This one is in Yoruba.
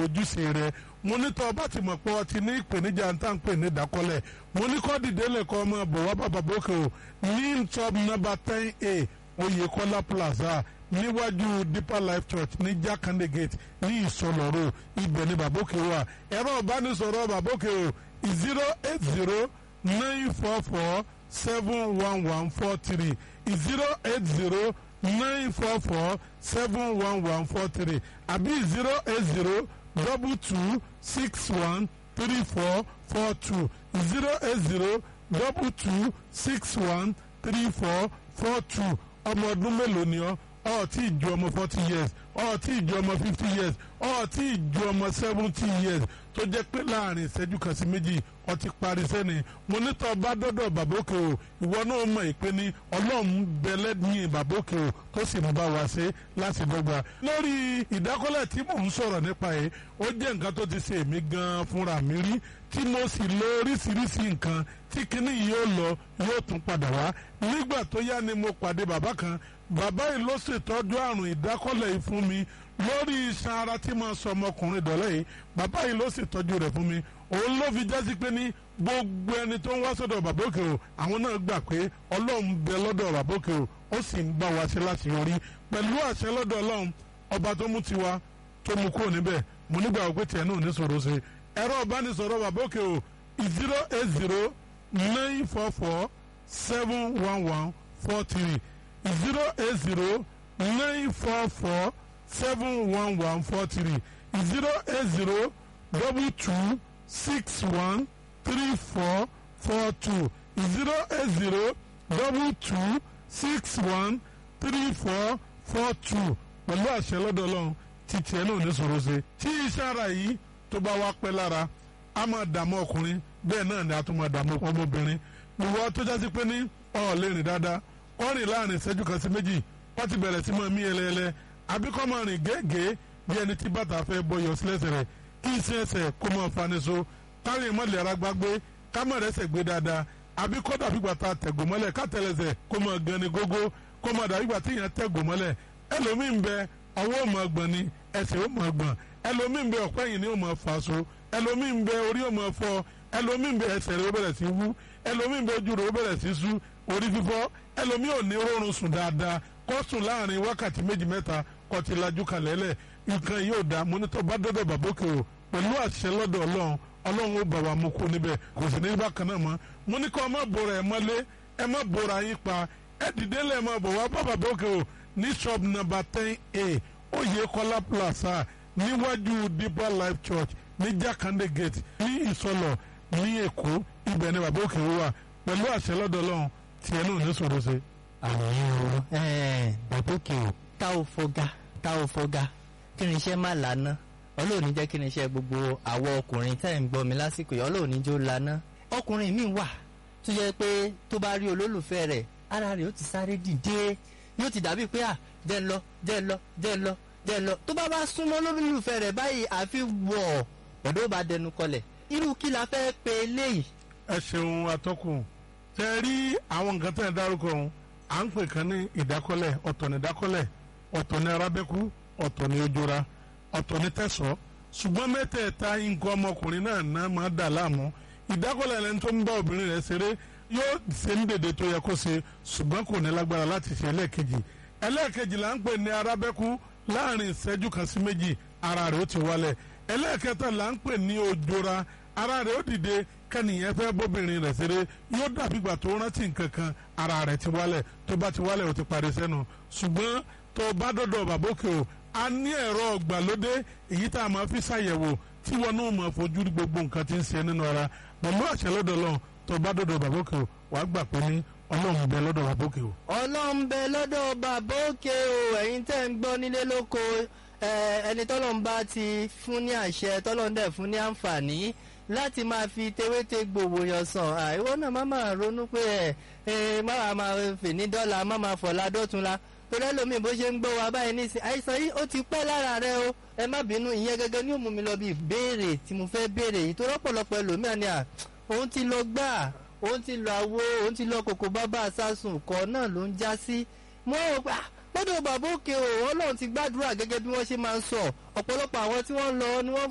Ojúṣe rẹ, mo ní tọ́ ọba ti mọ̀ pé ọ ti ní ìpèníjà ń tà ń pè ní ìdákọ́lẹ̀, mo ní kọ́ dìde lẹ́kọ́ ọmọ bọ̀ wá bàbá bókè o ní top number 10A, Oyèkọ́lá Plaza, níwájú Deeper Life Church ní Jakande Gate ní Ìsọlọ̀ Road. Ibẹ̀ ni bàbókè wà. Ẹ̀rọ ìbánisọ̀rọ̀ bàbókè o, 08094471143, 08094471143, àbí 08022613442, 08022613442. Ọmọ ọdún mélòó ni ọ́? Ọ tí ì ju ọmọ 40 years, ọ tí ì ju ọmọ 50 years, ọ tí ì ju ọmọ 70 years, tó jẹ́ pé láàrin ìṣẹ́jú kan sí méjì ọ ti parí sẹ́ni. Mo ní tọ́ bá dọ́dọ̀ bàbókè o, ìwọ náà mọ̀ ìpè ní Ọlọ́run bẹ̀lẹ́ ní bàbókè o, tó sì ń bá wa ṣe láti dọ́gba. Lórí ìdákọ́lẹ̀ tí mò ń sọ̀rọ̀ nípa yìí, ó jẹ́ nǹkan tó ti ṣe èmi gan-an fúnra mi rí, tí mo sì lo oríṣiríṣi nǹkan tí kinní yìí ó lọ, yóò tún padà wá. Nígbà tó yá ni mo pàdé bàbá kan. Bàbá yìí ló ṣètọ́jú àrùn ìdákọ́lẹ̀ yìí fún mi lórí iṣan ara tí mo sọ ọmọkùnrin dọ̀lẹ́ yìí. Bàbá yìí ló ṣètọ́jú rẹ̀ fún mi. Òun ló fi jásí pé ní gbogbo ẹni tó ń wá sọ́dọ̀ bàbá òkè o, àwọn náà gbà pé Ọlọ́run bẹ lọ́dọ̀ bàbá òkè o, ó sì ń bá wa ṣe láti yọrí pẹ̀lú àṣẹ lọ́dọ̀ Ọlọ́run ọba tó mú tiwa tó mú kúrò níbẹ̀. Mo nígbà wípé tiẹ̀ náà ní sọ̀rọ̀ ṣe. Ẹ̀rọ ìbánisọ̀rọ̀ bàbá òkè o, 08094471143, 08094471143, 08022613442, 08022613442. Pẹ̀lú àṣẹ lọ́dọ̀ Ọlọ́run, títí ẹ̀ náà ní sọ̀rọ̀ ṣe. Tí iṣẹ́ ara yìí tó bá wá pẹ́ lára, a máa dààmú ọkùnrin, bẹ́ẹ̀ náà ni a tún máa dààmú ọmọbìnrin. Ìwọ tó jásí pé ní ọ̀ lè rìn dáadáa, kọ́ rìn láàrin ìṣẹ́jú kan sí méjì, wọ́n ti bẹ̀rẹ̀ sí máa mí ẹlẹ́ẹlẹ́, àbí kọ́ máa rìn gẹ́gẹ́ bí ẹni tí bàtà fẹ́ bọyọ̀ sílẹ̀sẹ̀ rẹ̀, kí iṣẹ́ ẹsẹ̀ kó máa fani so, kárí mọ́lẹ̀ ara gbágbé, ká má rẹ́sẹ̀ gbé dáadáa, àbí kọ́ dàbí ìgbà tá a tẹ̀gò mọ́lẹ̀, ká tẹ̀lẹ̀sẹ̀ kó máa gan ni gógó, kó máa dàbí ìgbà tí èèyàn tẹ̀gò mọ́lẹ̀. Ẹlòmíín bẹ, ọwọ́ ò máa gbọ̀n ni, ẹsẹ̀ ò máa gbọ̀n. Ẹlòmíín bẹ, ọ̀pẹ́ yìí ni ó máa fà so. Ẹlòmíín bẹ, orí ò máa fọ́. Ẹlòmíín bẹ, ẹsẹ̀ rẹ̀ ó bẹ̀rẹ̀ sí wú. Ẹlòmíín bẹ, ojú rẹ̀ ó bẹ̀rẹ̀ sí sú, orí fífọ́. Ẹlòmíín ò ní rọrùn sùn dáadáa, kó sùn láàrin wákàtí méjì mẹ́ta, kó ti lajú kalẹ̀ lẹ̀. Nǹkan yóò dá. Mo ní tó bá dọ́dọ̀ bàbókè o, pẹ̀lú àṣẹ lọ́dọ̀ Ọlọ́run, Ọlọ́run ó bà wá mú kú níbẹ̀, kò sì ní bákan náà mọ́. Mo ní kó má bora ẹ̀ mọ́lé, ẹ má bora yín pa, ẹ dìde lẹ̀, má bọ̀ wá bá bàbókè o ní shop number 10A, Oyèkọ́lá Plaza, níwájú Deeper Life Church ní Jakande Gate ní Ìsọlọ̀ ní Èkó. Ibẹ̀ ni bàbókè wà. Pẹ̀lú àṣẹ lọ́dọ̀ Ọlọ́run, tiẹ̀ náà ní sọ̀rọ̀ ṣe. Àmì o, bàbókè o, tá ò fọgá, tá ò fọgá, kí ni iṣẹ́ má lànà. Ọlọ́run ní jẹ́ kí ni iṣẹ́ gbogbo àwọ̀ ọkùnrin tẹ́ ń gbọ́ mi lásìkò yìí, Ọlọ́run ní jó lànà. Ọkùnrin mi wà tó jẹ́ pé tó bá rí olólùfẹ́ rẹ̀, ara rẹ̀ ó ti sáré dìde, yóò ti dàbí pé à jẹ́ ń lọ, jẹ́ ń lọ, jẹ́ ń lọ, jẹ́ ń lọ. Tó bá bá súnmọ́ olólùfẹ́ rẹ̀ báyìí, àfi wọ̀ ọ̀dọ́ bá dẹnu kọlẹ̀. Irú kí la fẹ́ pe eléyìí? Ẹ ṣeun, atọ́kùn. Tẹ rí àwọn nǹkan tẹ̀ ń dárúkọ ọ̀hún, à ń pè kan ní ìdákọ́lẹ̀. Ọ̀tọ̀ ní ìdákọ́lẹ̀, ọ̀tọ̀ ní arábẹ́kú, ọ̀tọ̀ ní ojora, ọ̀tọ̀ ní tẹ̀sọ́. Ṣùgbọ́n mẹ́tẹ̀ẹ̀ta, nǹkan ọmọkùnrin náà náà máa dà láàmú. Ìdákọ́lẹ̀, ẹni tó ń bá obìnrin rẹ̀ ṣeré, yóò ṣe ní dèdè tó yẹ kó ṣe, ṣùgbọ́n kò ní lágbára láti ṣe ẹlẹ́ẹ̀kejì. Ẹlẹ́ẹ̀kejì là ń pè ní arábẹ́kú, láàrin ìṣẹ́jú kan sí méjì, ara rẹ̀ ó ti wálẹ̀. Ẹlẹ́ẹ̀kẹta là ń pè ní ojora, ara rẹ̀ ó dìde, kẹ́nìyẹn fẹ́ bóbìnrin rẹ̀ ṣeré, yóò dàbí ìgbà tó rántí nǹkan kan, ara rẹ̀ ti wálẹ̀. Tó bá ti wálẹ̀, ó ti parí sẹ́nu. Ṣùgbọ́n tó bá dọ́dọ̀ bàbókè o, a ní ẹ̀rọ ọ̀gbàlódé èyí tá a máa fi ṣàyẹ̀wò, tí wọn náà máa fojú rí gbogbo nǹkan tí ń ṣe nínú ara. Pẹ̀lú àṣẹ lọ́dọ̀ Ọlọ́run, tó bá dọ́dọ̀ bàbókè o, wàá gbà pé ní Ọlọ́run bẹ lọ́dọ̀ bàbókè o. Ọlọ́run bẹ lọ́dọ̀ bàbókè o. Ẹ̀yin tẹ́ ń gbọ́ nílé lóko, ẹni tọ́lọ́run bá ti fún ní àṣẹ, tọ́lọ́run dẹ̀ fún ní àǹfààní láti máa fi tewéte gbòòwò yàn sàn, ìwọ náà má máa ronú pé ẹ má máa fè ní dọ́là, má máa fọ̀la dọ́tunla, torí ẹlòmíì bó ṣe ń gbọ́ wa báyìí nísìn, àìsàn yìí ó ti pẹ́ lára rẹ o. Ẹ má bínú, ìyẹn gẹ́gẹ́ ní ó mú mi lọ bí ìbéèrè tí mo fẹ́ béèrè yìí, tó rọ́pọ̀lọpọ̀ ẹlòmíà ni à òun ti lọ gbà, òun ti lọ àwo, òun ti lọ kòkó bábà sásùn kọ́ náà ló ń já sí. Mo rò pé Lọ́dọ̀ bàbá òkè o, Ọlọ́run ti gbàdúrà gẹ́gẹ́ bí wọ́n ṣe máa ń sọ. Ọ̀pọ̀lọpọ̀ àwọn tí wọ́n ń lọ ni wọ́n